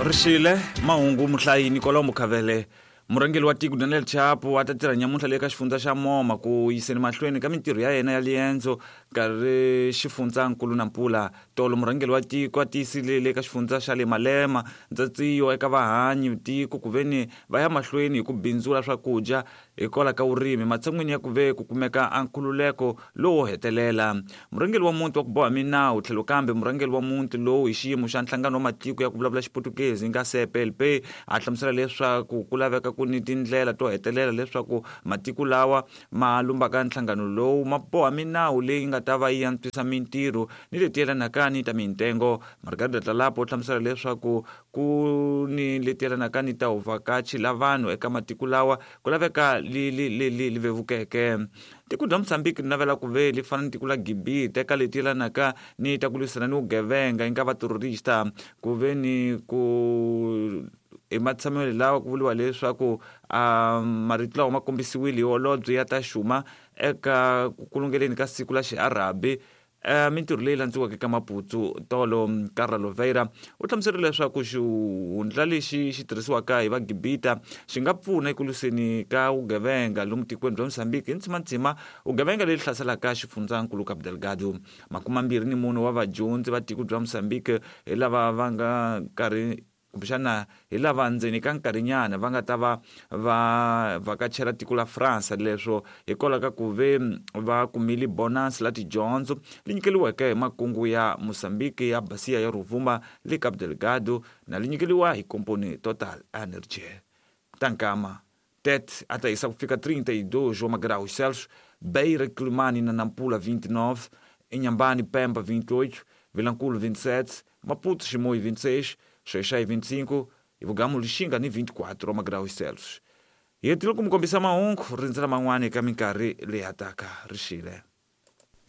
Rixile mahungu muhlayi Nicolau Mukhavele. Murhangeri wa tiko Daniel Chapo a ta tirha nyamuntlha le ka xifundza xa Moma ku yiseni mahlweni ka mintirho ya yena ya liendzo nkarhi xifundzankulu na mpula. Tolo murhangeri wa tiko a tiyisile le ka xifundza xa le Malema ndzatsiyo eka vahanyi tiko ku veni va ya mahlweni hi ku bindzula swakudya hikwalaho ka vurimi matshan'wini ya ku ve ku kumeka a nkhululeko lowo hetelela. Murhangeri wa muti wa ku boha minawu tlhelo kambe murhangeri wa muti lowu hi xiyimo xa nhlangano wa matiko ya ku vulavula Xiputukezi nga CPLP a hlamusela leswaku ku laveka ku ni tindlela to hetelela leswaku matiko lawa ma lumbaka nhlangano lowu ma boha minawu leyi nga ta va yi antswisa mintirho ni leti yelanaka ni ta mintengo. Margarida Tlalapo u hlamusela leswaku ku ni leti yelanaka ni ta vuvhakachi la vanhu eka matiko lawa ku laveka li li li li li vevukeke. Tiko bya Mozambique ri navela ku ve li fana ni tiko la Gibita eka leti yelanaka ni ta ku lwisana ni vugevenga yi nga va terrorista ku ve ni ku ematshamelo lawa ku vuriwa leswaku marito lawa ma kombisiwile hi holobye ya ta xuma eka ku kulungeleni ka siku la xiarabi. Mintirho leyi landziweke ka Maputo tolo, Carla Loveira u hlamuserile leswaku xihundla lexi xi tirhisiwaka hi Vagibita xi nga pfuna eku lwiseni ka vugevenga lomu tikweni bya Mozambique hi ntsimantsima vugevenga leri hlaselaka xifundzankulu Cabo Delgado. 24 wa vadyondzi va tiko bya Mozambique hi lava va nga karhi kumbexana hi lava ndzeni ka nkarhinyana va nga ta va va vhakachela tiko la France leswo hikwalaho ka ku ve va kumile bonus la tidyondzo li nyikeliweke hi makungu ya Mozambique ya Bacia ya Rovuma le Cabo Delgado na li nyikeliwa hi komponi Total Energy. Ta nkama Tete a ta hisa ku fika 32 wa magraus Celsius, Beira, Quelimane na Nampula 29, Inhambane, Pemba 28, Vilankulu 27, Maputo, Chimoio 26, Xai-Xai 25, Ivugamu, Lixinga ni 24 wa magraus Celsius. Hi hetile ku mi kombisa mahungu, rindzela man'wana eka minkarhi leyi hataka. Rixile.